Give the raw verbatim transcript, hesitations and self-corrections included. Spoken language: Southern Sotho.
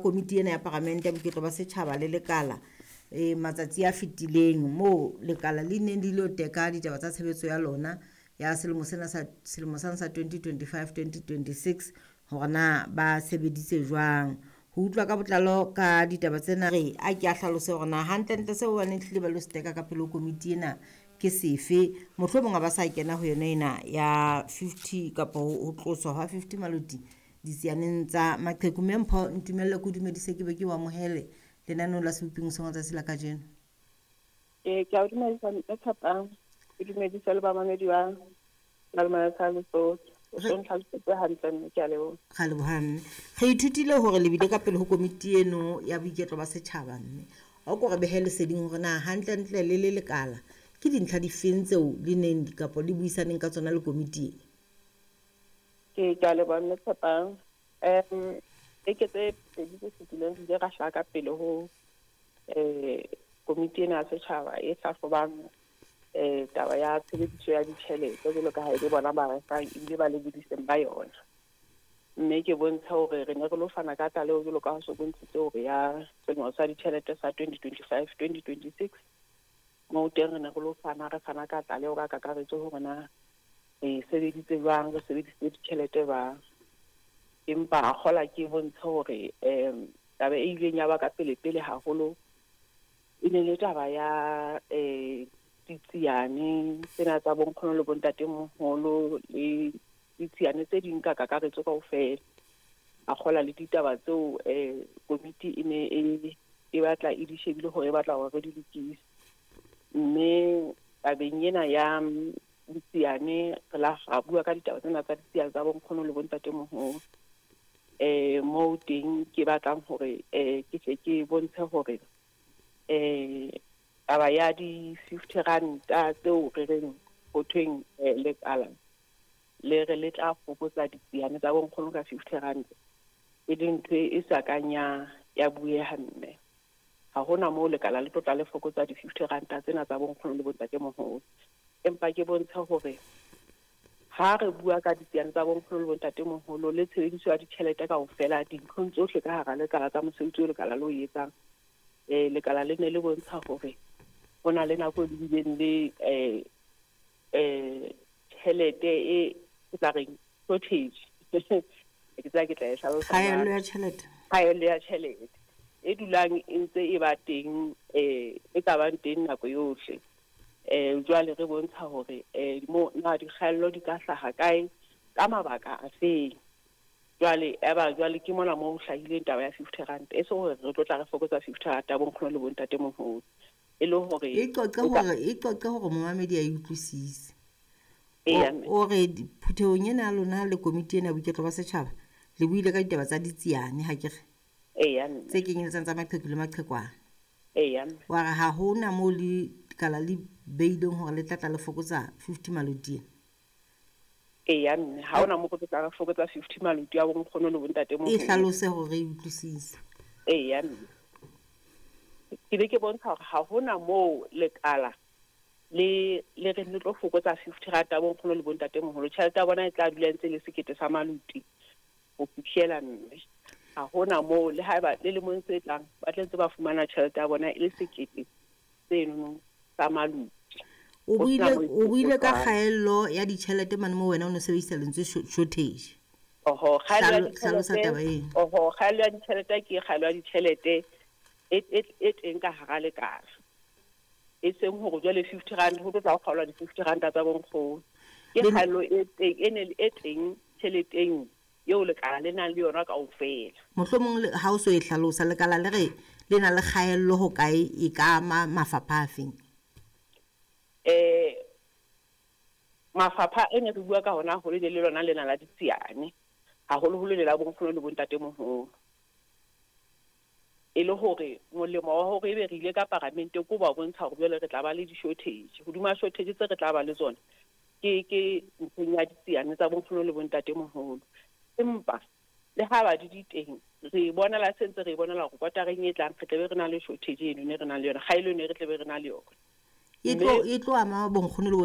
Komiti ena ya Paramente ya Boiketlo ba Setjhaba le Lekala e matsatsi a fetileng moo lekala le neng le ilo teka ditaba tsa tshebetso ya lona ya selemo sena sa selemo sane sa twenty twenty-five twenty twenty-six hore na ba sebeditse jwang. Ho utlwa ka botlalo ka ditaba tsena re a ke a hlalose hore na hantlentle seo ba neng hlile ba lo se teka ka pele ho komiti ena ke sefe. Mohlomong ha ba sa kena ho yona ena ya fifty kapa ho tloswa hwa fifty maloti ditsianeng tsa maqheku. Mme Mpho, ntumelle ke o dumedise ke be ke o amohele lenaneong la Seboping Hoseng tsatsi la kajeno. Ee, ke a o dumedisa mme Tshepang, ke dumedise le bamamedi ba Malomane sa Lesotho. O so ntlhalosetse hantle mme ke a leboha. Ra leboha mme. Re ithutile hore le bile ka pele ho komiti eno ya boiketlo ba setjhaba mme. O ko re behe leseding hore na hantlentle le le lekala ke dintlha difeng tseo le neng kapa le buisaneng ka tsona le komiti e? Ke ke a leboha mme Tshepang. Um beke tse pedi tse fetileng re ile ra hlaha ka pele ho eh komiti ena ya setjhaba e hlahlobang eh taba ya tshebediso ya ditjhelete jwalo ka ha e le bona ba re fang ebile ba lebodiseng ba yona. Mme ke bontsha hore re ne re lo fana ka tlaleho jwalo ka ha so bontshitse hore ya selemo sa ditjhelete sa twenty twenty-five twenty twenty-six. Moo teng re ne re lo fana re fana ka tlaleho ka kakaretso hore na re sebeditse jwang, re sebedisitse ditjhelete jwang. Empa a kgola ke bontshe hore um taba e ileng ya ba ka pele pele haholo e ne le taba ya eh ditsiane tsena tsa bonkgono le bontatemoholo le ditsiane tse ding ka kakaretso kaofela. A kgola le ditaba tseo eh komiti e ne e e batla e di shebile hore e batla hore re di lokise. Mme tabeng ena ya ditsiane re la ra bua ka ditaba tsena tsa ditsiane tsa bonkgono le bontatemoholo. Eh moo teng ke batlang hore eh ke tle ke bontshe hore eh taba ya di fifty ranta tseo re reng ho thweng eh, lekala le re le tla fokotsa ditsiane tsa bonkgono ka fifty ranta e leng ntho e sa kang ya ya bueha mme. Ha hona moo lekala le tlo tla le fokotsa di fifty ranta tsena tsa bonkgono le bontatemoholo. Empa ke bontshe hore ha re bua ka ditsiane tsa bonkgono le bontatemoholo le tshebediso ya ditjhelete kaofela dinthong tsohle ka hara lekala tsa mosebetsi o lekala le o etsang, eh lekala le ne le bontsha hore ho na le nako e le bileng le eh eh tjhelete e ke tla reng shortage. Ke tseba ke tla e hlalosa Kgaello jwang. ya tjhelete. Kgaello ya tjhelete e dulang e ntse e ba teng eh e ka bang teng nako yohle. Eh jwale re bontsha hore eh mo na dikgaello di ka hlaha kae ka mabaka a feng. Jwale eba jwale ke mona moo ho hlahileng taba ya fifty rand e se hore re tlo tla re fokotsa fifty rand ya bonkgono le bontatemoholo e le hore E qoqe o ka- hore e qoqe hore momamedi a e utlwisise. Eya, O mme. o re di- phuthehong ena ya lona le komiti ena ya boiketlo ba setjhaba le buile ka ditaba tsa ditsiane ha ke re Eya, mme. tse kenyeletsang tsa maqheku le maqhekwana. Eya, mme. Wa re ha hona moo le lekala le beileng hore le tla tla le fokotsa fifty maloti ena. Eya, mme. Ha hona moo re tlo tla re fokotsa fifty maloti a bonkgono le bontatemoholo. E hlalose hore re e utlwisise. Eya, mme. Ke be ke bontsha hore ha hona moo lekala le le re le tlo fokotsa fifty rand ya bonkgono le bontatemoholo. Tjhelete ya bona e tla dula ntse e le sekete sa maloti ho fihlela mme. Ha hona moo le haeba le lemong tse tlang ba tla ntse ba fumana tjhelete ya bona e le sekete seno sa maloti. O Ho sena buile moo e o buile ka fokotswang. kgaello ya ditjhelete mane moo wena o no sebedisa lentswe sho- shortage. Oho, kgaello ya Hlalo- hlalosa ditjhelete taba eno. Oho, kgaello ya ditjhelete ke kgaello ya ditjhelete e, e, e teng ka hara lekala. E seng hore jwale fifty rand ho tlo tla ho kgaolwa di-fifty ranta tsa bonkgono. Ke Le- kgaello e teng, e ne e teng tjheleteng eo lekala le nang le yona kaofela. Mohlomong le- ha o so e hlalosa lekala le re le na le kgaello ho kae e ka ama mafapha a feng? Eh mafapha e ne re bua ka hona haholo e ne le lona lena la ditsiane, haholoholo le la bonkgono le bontatemoholo. E le hore molemo wa hore ebe re ile ka paramente ke ho ba bontsha hore jwale re tla ba le di-shortage. Hodima shortage tse re tla ba le tsona ke ke ntlheng ya ditsiane tsa bonkgono le bontatemoholo. Empa le ha ba di di teng re bonela se ntse re bonela hore kwatareng e tlang re tla be re na le shortage eno ne re nang le yona, kgaello eno re tla be re na le yona. E tlo e tlo ama bonkgono le